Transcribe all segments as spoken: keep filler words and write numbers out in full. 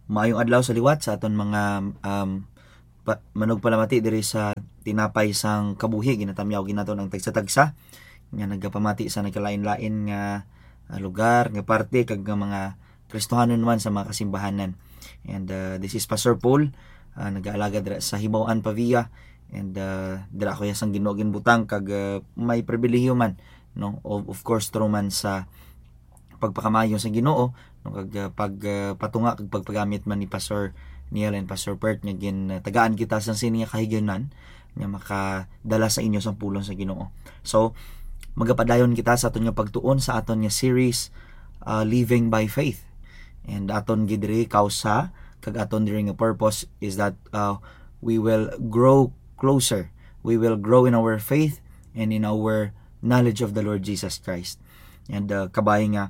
Maayong adlaw sa liwat sa aton mga, um, pa-, manugpalamati diri sa Tinapay sang Kabuhi. Ginatamyaw gid naton ang tagsa-tagsa nga nagapamati sa nagkalain-lain nga, ah, lugar, nga parte, kag nga mga Kristohanon man sa mga kasimbahanan. And, uh, this is Pastor Paul, uh, nag-aalaga dira sa Hibaw-an, Pavia. And, uh, dira ako sang Ginoo ginbutang kag, uh, may pribilehiyo man, no? Of, of course, through man sa pagpakamayo sa Ginoo, no, kag, uh, pag, uh, patunga kag pagpagamit man ni Pastor Neil and Pastor Pert nga gin, uh, tagaan kita sang sini nga kahigayonan nga makadala sa inyo sang pulong sa Ginoo. So, magapadayon kita sa aton nga pagtuon sa aton nga series, uh, Living by Faith. And aton gid diri kausa kag aton diri nga purpose is that, uh, we will grow closer. We will grow in our faith and in our knowledge of the Lord Jesus Christ. And, uh, kabay nga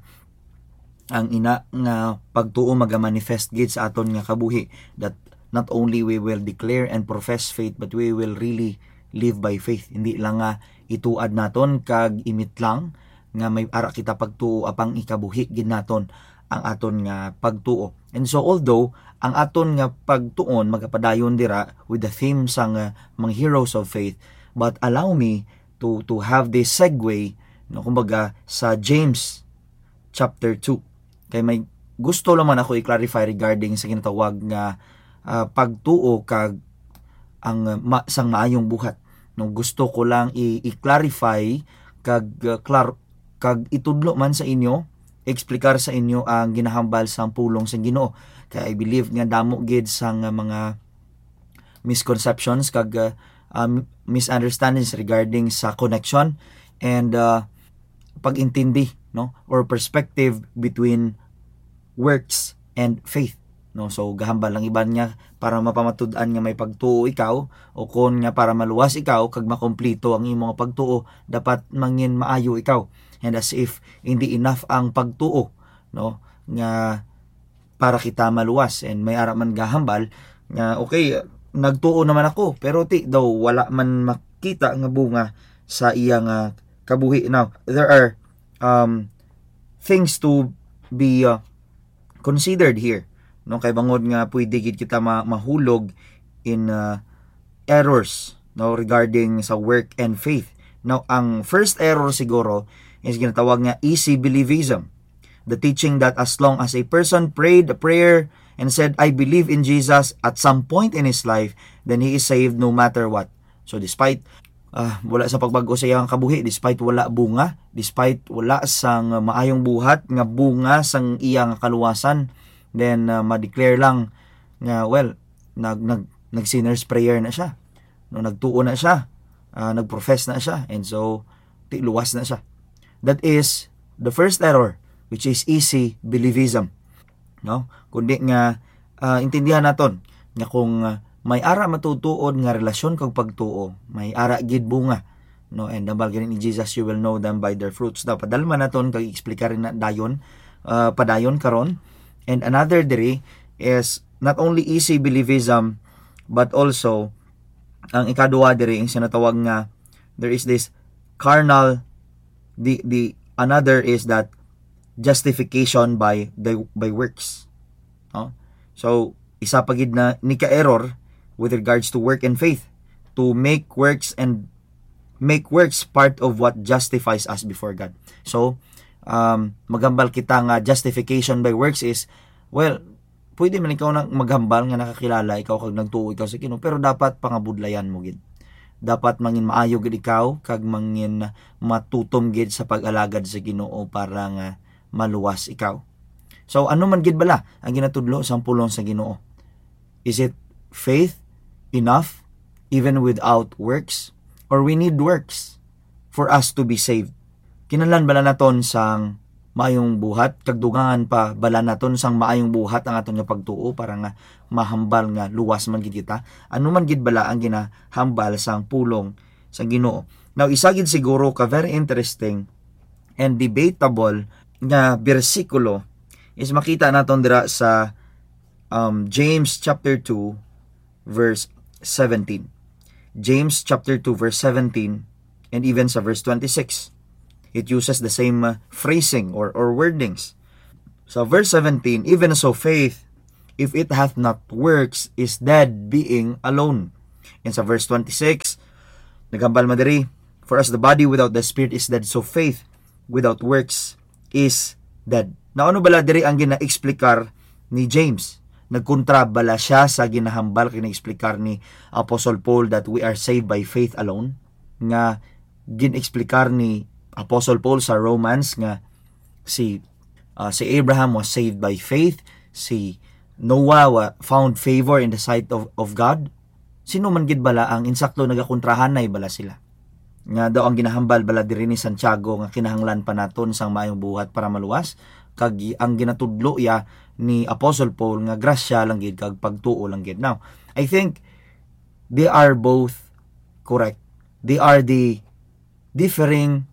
ang ina nga pagtuo magamanifest gid sa aton nga kabuhi, that not only we will declare and profess faith, but we will really live by faith. Hindi lang nga ituad naton kag imitlang nga may ara kita pagtuo, apang ikabuhi gid naton ang aton nga pagtuo. And so, although ang aton nga pagtuon magapadayon dira with the theme sang, uh, mga heroes of faith, but allow me to, to have this segue, no, kumbaga, sa James chapter two. Kay may gusto lang man ako i-clarify regarding sa ginatawag nga, ah, pagtuo kag ang, ah, ma-, sang maayong buhat. No, gusto ko lang i-, i-clarify kag, ah, klar-, kag itudlo man sa inyo, explicar sa inyo ang ginahambal sang pulong sang Ginoo. Kay I believe nga damo gid sang, ah, mga misconceptions kag, ah, um, misunderstandings regarding sa connection and, ah, pag-intindi, no, or perspective between works and faith, no? So, gahambal ang iban nga para mapamatud-an nga may pagtuo ikaw, o kon nga para maluwas ikaw kag makomplito ang imo nga pagtuo, dapat mangin maayo ikaw. And as if hindi enough ang pagtuo, no, nga para kita maluwas. And may ara man gahambal nga, okay, nagtuo naman ako, pero ti daw wala man makita nga bunga sa iya nga kabuhi. Now, there are, um, things to be, uh, considered here, no? Kay bangod nga pwede gid kita ma-, mahulog in, uh, errors, no, regarding sa work and faith. Now, ang first error siguro is ginatawag nga easy believism. The teaching that as long as a person prayed a prayer and said, "I believe in Jesus," at some point in his life, then he is saved no matter what. So, despite, ah, wala sa pagbag-o sa iyang kabuhi, despite wala bunga, despite wala sang maayong buhat nga bunga sang iyang kaluwasan, then, ah, ma-declare lang nga, well, nag-, nag-, nag-sinner's prayer na siya. No, nagtuo na siya, ah, nag-profess na siya, and so, ti luwas na siya. That is the first error, which is easy believism. No? Kundi nga, ah, intindihan naton nga kung, ah, may ara matutuod nga relasyon kag pagtuo, may ara gid bunga, no? And hambal gani ni Jesus, "You will know them by their fruits." Daw, padalman naton kag explicar na dayon, ah, padayon karon. And another diri is not only easy believism, but also ang ikaduha diri, ang sinatawag nga there is this carnal, the, the another is that justification by the, by works. No? So, isa pa gid na ni ka error with regards to work and faith, to make works and make works part of what justifies us before God. So, um, maghambal kita nga justification by works is, well, pwede man ikaw na maghambal nga nakakilala ikaw kag nagtuo ikaw sa Ginoo, pero dapat pangabudlayan mo gid. Dapat mangin maayo gid ikaw kag mangin matutom gid sa pag-alagad sa Ginoo para nga maluwas ikaw. So, ano man gid bala ang ginatudlo sang pulong sa Ginoo? Is it faith enough even without works? Or we need works for us to be saved? Kinahanglan bala naton sang maayong buhat, kag dugangan pa bala naton sang maayong buhat ang aton nga pagtuo para nga mahambal nga luwas man gid kita? Ano man gid bala ang ginahambal sang pulong sa Ginoo? Now, isa gid siguro ka very interesting and debatable nga bersikulo is makita naton dira sa, um, James chapter two, verse seventeen. James chapter two, verse seventeen, and even sa verse twenty-six, it uses the same, uh, phrasing or, or wordings. Sa verse seventeen, "Even so faith, if it hath not works, is dead, being alone. And sa verse twenty-six, naghambal man diri, "For as the body without the spirit is dead, so faith without works is dead." Now, ano bala diri ang gina-explikar ni James? Nagkontra bala siya sa ginahambal kag gina-explikar ni Apostle Paul that we are saved by faith alone? Nga gin-explikar ni Apostle Paul sa Romans nga si, ah, si Abraham was saved by faith, si Noah wa-, found favor in the sight of, of God. Sino man gid bala ang insakto? Nagakontrahanay bala sila? Nga daw ang ginahambal bala diri ni Santiago nga kinahanglan pa naton sang maayong buhat para maluwas, kag ang ginatudlo iya ni Apostle Paul nga grasya lang gid kag pagtuo lang gid. Now, I think they are both correct. They are the differing,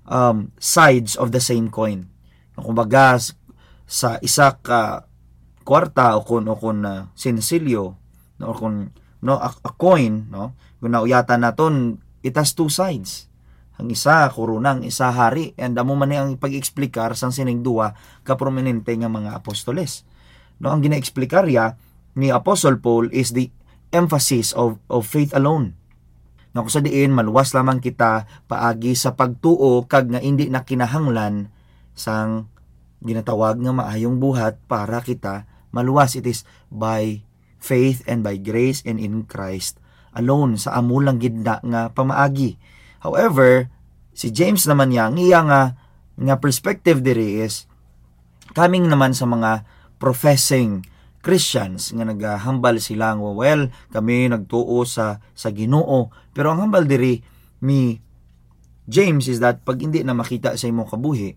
um, sides of the same coin. Kumbaga, s-, sa isa ka kwarta o kun, o kun, ah, sinsilyo, no, o kun, no, a, a coin, no, kung nauyatan naton, it has two sides. Ang isa, korona, ang isa, hari. And amo man ni ang pag-explikar sang sining duha ka prominente nga mga apostoles. No, ang gina-explikar ya ni Apostle Paul is the emphasis of, of faith alone. Nga kung sa diin, maluwas lamang kita paagi sa pagtuo kag nga indi na kinahanglan sang ginatawag nga maayong buhat para kita maluwas. It is by faith and by grace and in Christ alone, sa amo lang gid na nga pamaagi. However, si James naman niya, ang iya nga, nga perspective diri is coming naman sa mga professing Christians nga nagahambal sila nga, "Well, kami nagtuo sa, sa Ginoo." Pero ang hambal diri ni James is that pag hindi na makita sa imong kabuhi,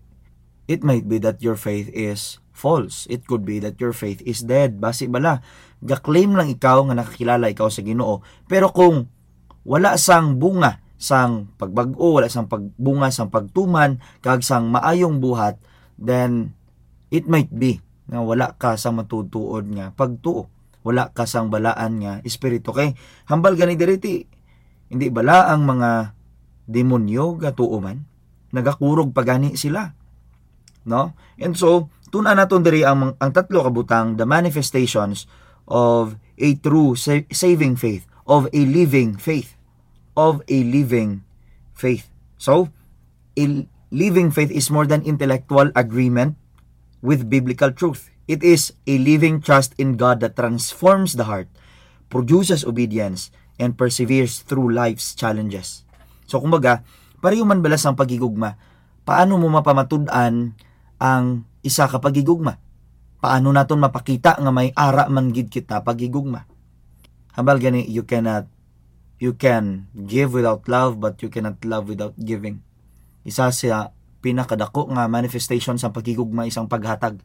it might be that your faith is false. It could be that your faith is dead. Basi bala, ga-claim lang ikaw nga nakakilala ikaw sa Ginoo. Pero kung wala sang bunga sang pagbag-o, wala sang pagbunga sang pagtuman, kag sang maayong buhat, then it might be nga wala ka sa matuod-tuod nga pagtuo. Wala ka sang balaan nga espiritu. Kay hambal gani diri, ti, hindi bala ang mga demonyo gatuo man? Nagakurog pa gani sila, no? And so, tun-an naton diri ang, ang tatlo ka butang, the manifestations of a true sa-, saving faith, of a living faith, of a living faith. So, a living faith is more than intellectual agreement with biblical truth. It is a living trust in God that transforms the heart, produces obedience, and perseveres through life's challenges. So, kumbaga, pareho man bala sang paghigugma, paano mo mapamatud-an ang isa ka paghigugma? Paano naton mapakita nga may ara man gid kita paghigugma? Hambal gani, you cannot, you can give without love, but you cannot love without giving. Isa sa pinakadako nga manifestation sang paghigugma is ang paghatag.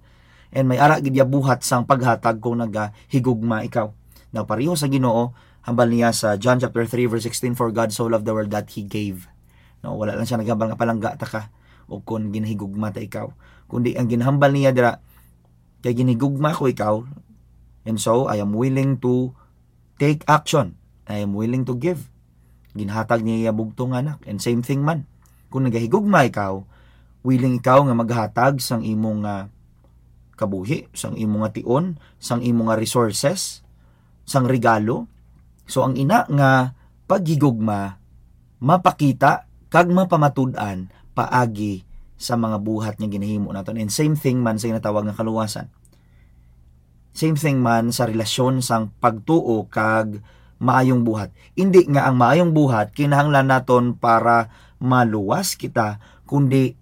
And may ara gid ya buhat sang paghatag kung nagahigugma ikaw. Now, pareho sa Ginoo, hambal niya sa John chapter three verse sixteen, "For God so loved the world that He gave." No, wala lang siya naghambal nga palangga ta ka o kung ginahigugma ta ikaw. Kundi ang ginhambal niya dira, kay ginhigugma ko ikaw, and so I am willing to take action. I am willing to give. Ginhatag niya iya bugtong nga anak. And same thing man. Kung nagahigugma ikaw, willing ikaw nga maghatag sang imong, ah, kabuhi, sang imong nga tion, sang imong nga resources, sang regalo. So, ang ina nga paghigugma, mapakita kag mapamatud-an paagi sa mga buhat nga ginahimo naton. And same thing man sa ginatawag nga kaluwasan. Same thing man sa relasyon sang pagtuo kag maayong buhat. Indi nga ang maayong buhat kinahanglan naton para maluwas kita, kundi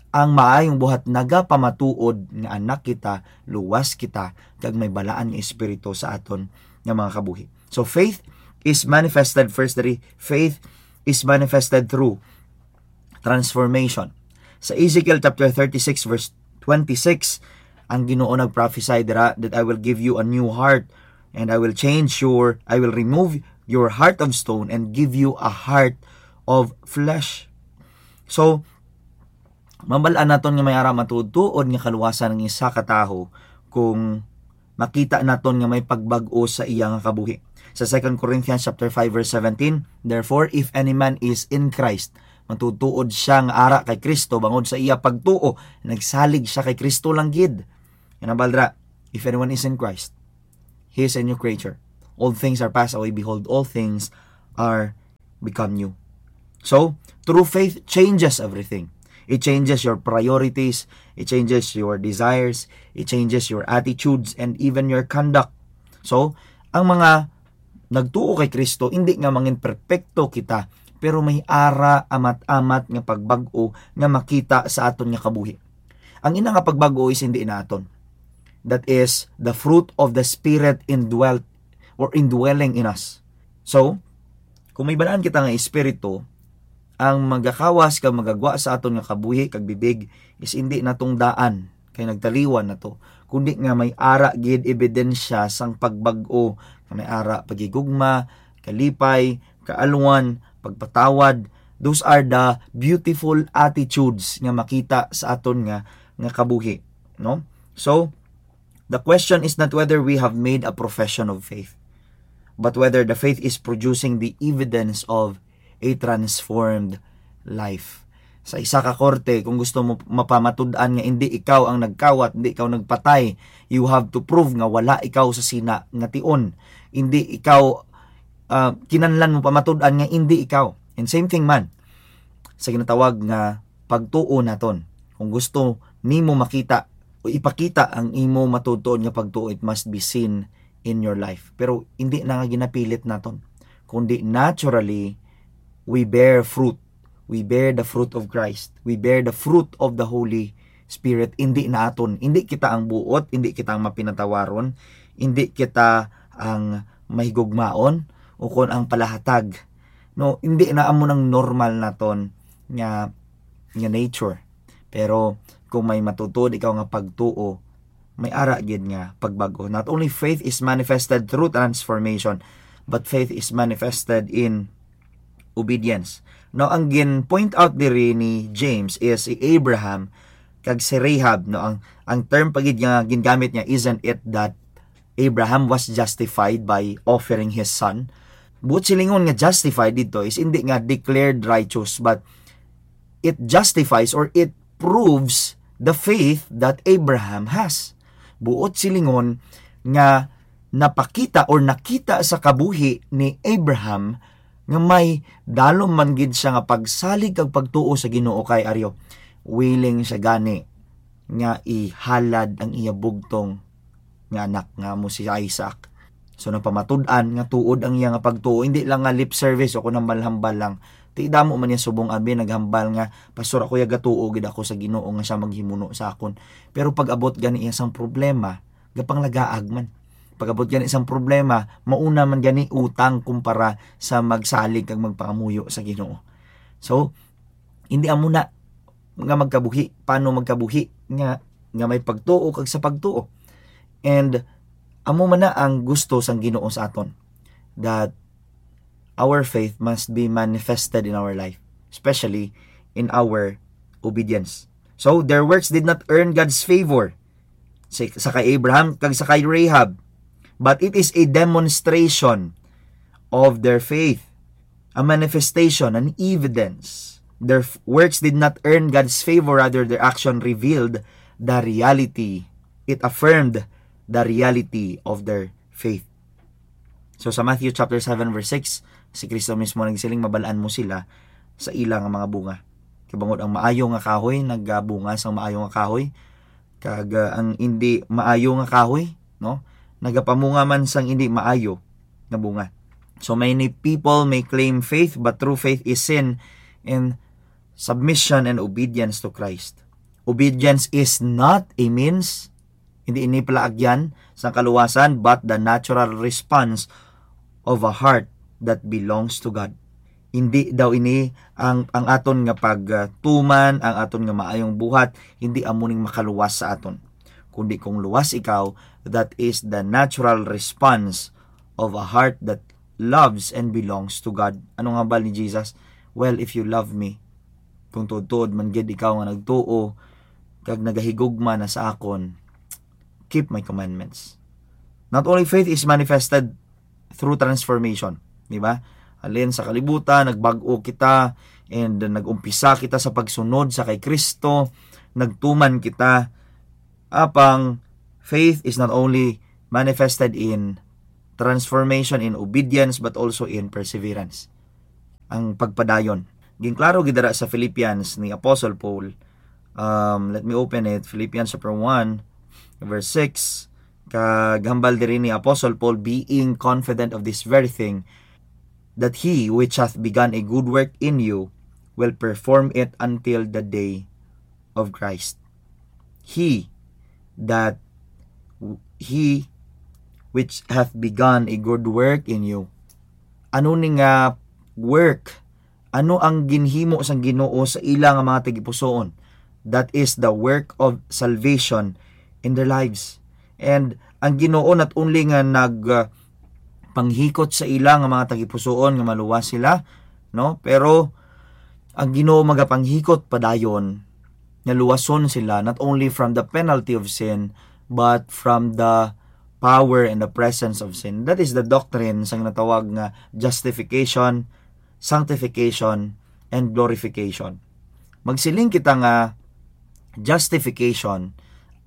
ang maayong buhat nagapamatuod nga anak kita, luwas kita, kag may balaan nga espiritu sa aton nga mga kabuhi. So faith is manifested first, diri, faith is manifested through transformation. Sa Ezekiel chapter thirty-six verse twenty-six, ang Ginoo nagprophesy dira that, "I will give you a new heart, and I will change your, I will remove your heart of stone and give you a heart of flesh." So, mabal-an naton nga may ara matuod-tuod nga kaluwasan ang isa ka tawo kung makita naton nga may pagbag-o sa iya nga kabuhi. Sa Second Corinthians chapter five verse seventeen, "Therefore, if any man is in Christ," matutuod siya nga ara kay Kristo bangod sa iya pagtuo, nagsalig siya kay Kristo lang gid. Yan ang baldra, "If anyone is in Christ, He is a new creature. Old things are passed away. Behold, all things are become new. So, true faith changes everything. It changes your priorities, it changes your desires, it changes your attitudes, and even your conduct. So, ang mga nagtuo kay Kristo, hindi nga mangin perpekto kita, pero may ara amat-amat nga pagbag-o nga makita sa aton nga kabuhi. Ang ina nga pagbag-o is hindi naton. That is the fruit of the Spirit indwelt or indwelling in us. So, kung may balaan kita nga espiritu, ang magakawas kag magagwa sa aton nga kabuhi kag bibig is hindi natong daan, kay nagtaliwan na to, kundi nga may ara gid ebidensya sang pagbag-o, nga may ara paghigugma, kalipay, kaalwan, pagpatawad. Those are the beautiful attitudes nga makita sa aton nga, nga kabuhi, no? So, the question is not whether we have made a profession of faith, but whether the faith is producing the evidence of a transformed life. Sa isa ka korte, kung gusto mo mapamatud-an nga hindi ikaw ang nagkawat, hindi ikaw nagpatay, you have to prove nga wala ikaw sa sina nga tion. Hindi ikaw, ah, kinahanglan mo pamatud-an nga hindi ikaw. And same thing man sa ginatawag nga pagtuo naton. Kung gusto nimo makita o ipakita ang imo matuod-tuod nga pagtuo, it must be seen in your life. Pero hindi na nga ginapilit naton, kundi naturally, we bear fruit. We bear the fruit of Christ. We bear the fruit of the Holy Spirit. Hindi naton. Hindi kita ang buot, hindi kita ang mapinatawaron, hindi kita ang mahigugmaon, o kon ang palahatag. No, hindi na amo nang normal naton nga, nga nature. Pero kung may matutuod ikaw nga pagtuo, may ara gid nga pagbag-o. Not only faith is manifested through transformation, but faith is manifested in obedience. Now, ang gin-point out diri ni James is si Abraham kag si Rahab, no? Ang, ang term pa gid nga gingamit niya, isn't it that Abraham was justified by offering his son? Buot silingon nga justified dito is hindi nga declared righteous, but it justifies or it proves the faith that Abraham has. Buot silingon nga napakita or nakita sa kabuhi ni Abraham nga may dalom man gid siya nga pagsalig kag pagtuo sa Ginoo, kay aryo, willing siya gani nga ihalad ang iya bugtong nga anak nga amo si Isaac. So, napamatud-an nga tuod ang iya nga pagtuo, hindi lang nga lip service o kun hambal-hambal lang. Ti damo man niya subong abi naghambal nga, "Pastor, ako ya gatuo gid ako sa Ginoo nga siya maghimuno sa akon." Pero pag-abot gani iya sang problema, gapanglagaag man. Pag-abot gani sang problema, mauna man gani utang kumpara sa magsalig kag magpangamuyo sa Ginoo. So, hindi amo na nga magkabuhi. Paano magkabuhi nga, nga may pagtuo kag sa pagtuo? And amo man na ang gusto sang Ginoo sa aton, that our faith must be manifested in our life, especially in our obedience. So, their works did not earn God's favor sa, sa kay Abraham kag sa kay Rahab, but it is a demonstration of their faith, a manifestation, an evidence. Their f- works did not earn God's favor, rather, their action revealed the reality. It affirmed the reality of their faith. So, sa Matthew chapter seven, verse six, si Kristo mismo nagsiling, "Mabalaan mo sila sa ila nga mga bunga." Kay bangod ang maayo nga kahoy nagabunga sang maayo nga kahoy, kag, ah, ang indi maayo nga kahoy, no, nagapamunga man sang indi maayo nga bunga. So many people may claim faith, but true faith is seen in submission and obedience to Christ. Obedience is not a means, hindi ini palaagyan sang kaluwasan, but the natural response of a heart that belongs to God. Hindi daw ini ang, ang aton nga pagtuman, ang aton nga maayong buhat, hindi amo ning makaluwas sa aton. Kundi kung luwas ikaw, that is the natural response of a heart that loves and belongs to God. Ano nga hambal ni Jesus? "Well, if you love me, kung tuod-tuod man gid ikaw nga nagtuo, kag nagahigugma na sa akon, keep my commandments." Not only faith is manifested through transformation, di ba? Halin sa kalibutan, nagbag-o kita, and nag-umpisa kita sa pagsunod sa kay Kristo, nagtuman kita. Apang faith is not only manifested in transformation, in obedience, but also in perseverance. Ang pagpadayon. Ginklaro gid dira sa Philippians ni Apostle Paul. Um, let me open it. Philippians chapter one, verse six. Kag hambal diri ni Apostle Paul, "Being confident of this very thing, that he which hath begun a good work in you will perform it until the day of Christ." He that, he which hath begun a good work in you. Ano ni nga work? Ano ang ginhimo sang Ginoo sa ila nga mga tagipusoon? That is the work of salvation in their lives. And ang Ginoo not only nga nag, uh, panghikot sa ila nga mga tagipusoon nga maluwas sila, no? Pero ang Ginoo magapanghikot padayon nga luwason sila, not only from the penalty of sin, but from the power and the presence of sin. That is the doctrine sang natawag nga justification, sanctification, and glorification. Magsiling kita nga justification,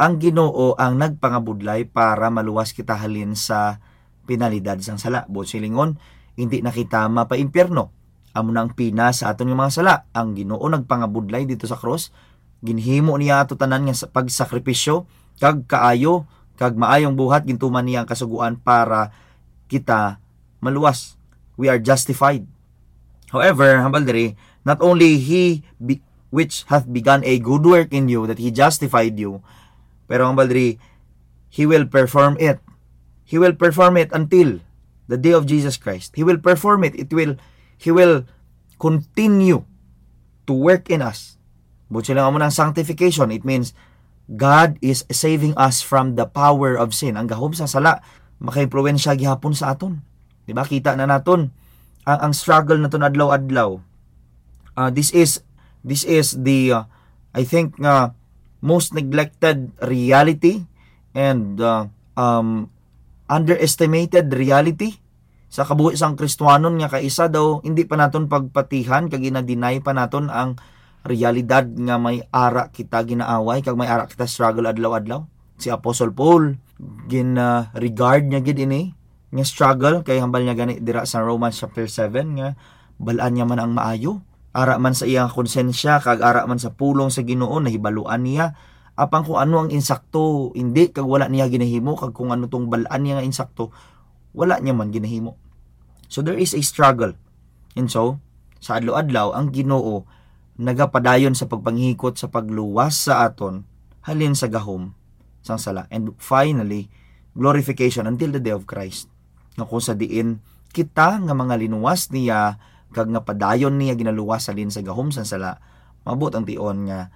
ang Ginoo ang nagpangabudlay para maluwas kita halin sa penalidad sang sala. Buot silingon, hindi na kita mapaimpyerno. Amo na ang pina sa aton nga mga sala. Ang Ginoo nagpangabudlay dito sa krus. Ginhimo niya ato tanan nga sa pagsakripisyo, kag kaayo, kag maayong buhat, gintuman niya ang kasugoan para kita maluwas. We are justified. However, hambal diri, not only he be, which hath begun a good work in you, that he justified you, pero hambal diri, he will perform it. He will perform it until the day of Jesus Christ. He will perform it. It will, he will continue to work in us. Buot silingon, amo nang sanctification. It means God is saving us from the power of sin. Ang gahom sa sala makaimpluwensya gihapon sa aton. Di ba? Kita na naton ang, ang struggle naton adlaw-adlaw. Uh, this is, this is the, uh, I think, uh, most neglected reality and, uh, um, underestimated reality sa kabuhi sang Kristiyanon, nga kaisa daw hindi pa naton pagpatihan kag gina-deny pa naton ang realidad nga may ara kita ginaaway kag may ara kita struggle adlaw-adlaw. Si Apostle Paul, gin-, uh, regard niya gid ini nga struggle, kay hambal niya gani dira sa Romans chapter seven nga bal-an niya man ang maayo. Ara man sa iyang konsensya kag ara man sa pulong sa Ginoo, nahibaluan niya apang kung ano ang insakto, hindi, kag wala niya ginahimo, kag kung ano tong bal-an niya nga insakto, wala niya man ginahimo. So there is a struggle. And so, sa adlaw-adlaw, ang Ginoo nagapadayon sa pagpanghikot sa pagluwas sa aton halin sa gahom sang sala. And finally, glorification until the day of Christ. Nga kung sa diin kita nga mga linuwas niya kag nga padayon niya ginaluwas halin sa gahom sang sala, maabot ang tion nga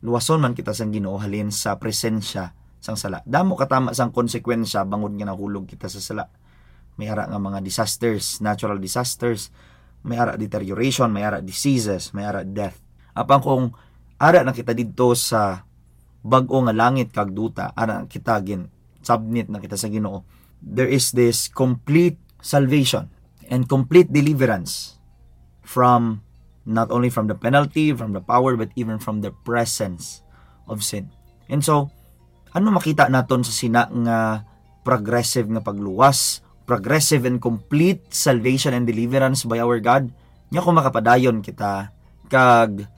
luwason man kita sang Ginoo halin sa presensya sang sala. Damo katama sang konsekwensya bangod nga nahulog kita sa sala. May ara nga mga disasters, natural disasters, may ara deterioration, may ara diseases, may ara death. Apang kung ara na kita didto sa bag-o nga langit kag duta, ara na kita gin-submit na kita sa Ginoo, there is this complete salvation and complete deliverance from, not only from the penalty, from the power, but even from the presence of sin. And so, ano makita naton sa sina nga progressive nga pagluwas, progressive and complete salvation and deliverance by our God? Nya kung makapadayon kita kag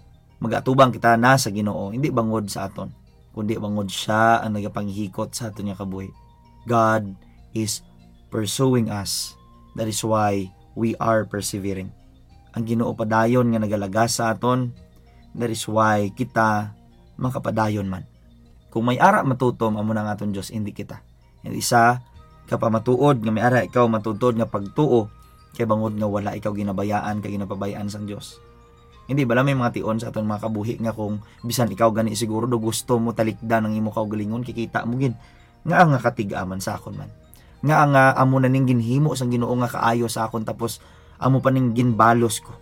mag-atubang kita na sa Ginoo, hindi bangod sa aton, kundi bangod siya ang nagapanghikot sa aton nga kabuhi. God is pursuing us. That is why we are persevering. Ang Ginoo padayon nga nagalagas sa aton. That is why kita makapadayon man. Kung may ara matutom, amo na ang aton Dios, hindi kita. And isa ka pamatuod nga may ara ikaw matutuod nga pagtuo, kay bangod nga wala ikaw ginabayaan kag ginapabayaan sang Dios. Hindi bala may mga tion sa aton mga kabuhi nga kung bisan ikaw gani siguro do gusto mo talikdan ang imo kaugalingon, kikita mo gid nga ang nga katiga man sa akon man. Nga ang, ah, amo na ning ginhimo sang Ginoo nga kaayo sa akon, tapos amo pa ning ginbalos ko.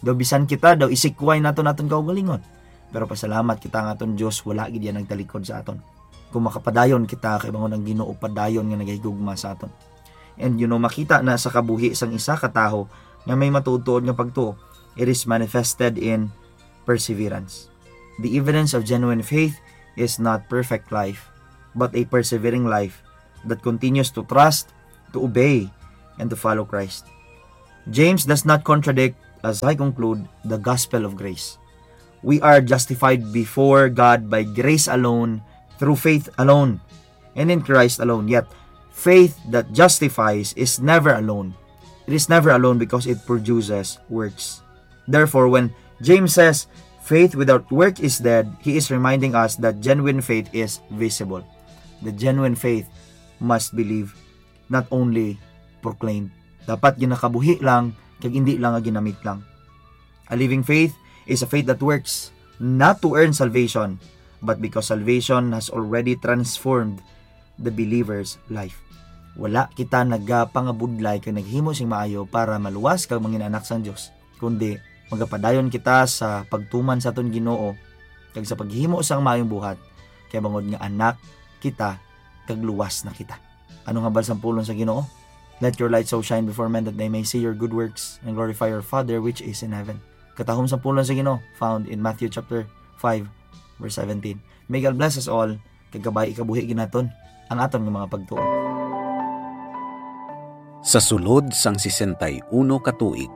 Daw bisan kita daw isikway nato naton kaugalingon. Pero pasalamat kita nga aton Dios wala gid yan nagtalikod sa aton. Kung makapadayon kita, kay bangod ang Ginoo padayon nga nagahigugma sa aton. And, you know, makita na sa kabuhi sang isa ka tawo nga may matuod-tuod nga pagtuo, it is manifested in perseverance. The evidence of genuine faith is not perfect life, but a persevering life that continues to trust, to obey, and to follow Christ. James does not contradict, as I conclude, the gospel of grace. We are justified before God by grace alone, through faith alone, and in Christ alone. Yet, faith that justifies is never alone. It is never alone because it produces works. Therefore, when James says, "Faith without work is dead," he is reminding us that genuine faith is visible. The genuine faith must believe, not only proclaimed. Dapat ginakabuhi lang, kag hindi lang nga ginamit lang. A living faith is a faith that works, not to earn salvation, but because salvation has already transformed the believer's life. Wala kita nagapangabudlay kag naghimo sing maayo para maluwas kag mangin anak sang Dios, kundi magapadayon kita sa pagtuman sa aton Ginoo kag sa paghimo sang maayong buhat, kay bangod nga anak kita kag luwas na kita. Ano nga hambal sang pulong sa Ginoo? "Let your light so shine before men that they may see your good works and glorify your Father which is in heaven." Katahom sang pulong sa Ginoo found in Matthew chapter five, verse seventeen. May God bless us all, kag kabay ikabuhi ginaton ang aton nga mga pagtuo. Sa sulod sang sesenta y uno ka tuig,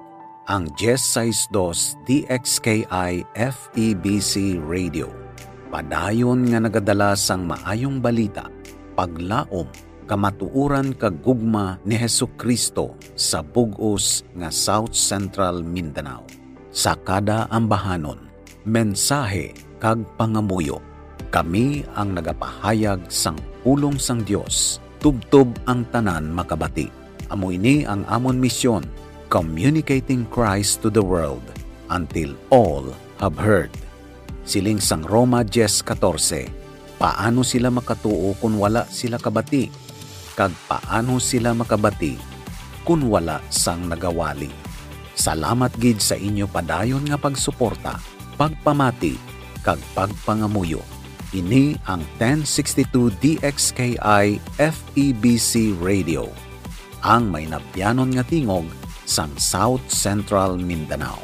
ang diez sais dos D X K I F E B C Radio padayon nga nagadala sang maayong balita, paglaom, kamatuoran kag gugma ni Jesu-Cristo sa bug-os nga South Central Mindanao. Sa kada ambahanon, mensahe kag pangamuyo, kami ang nagapahayag sang pulong sang Dios, tubtob ang tanan makabati. Amo ini ang amon misyon, communicating Christ to the world until all have heard. Siling sang Roma diez katorse, paano sila makatuo kon wala sila kabati? Kag paano sila makabati kon wala sang nagawali? Salamat gid sa inyo padayon nga pagsuporta, pagpamati, kag pagpangamuyo. Ini ang ten sixty-two D X K I F E B C Radio, ang mainabyanon nga tingog sang South Central Mindanao.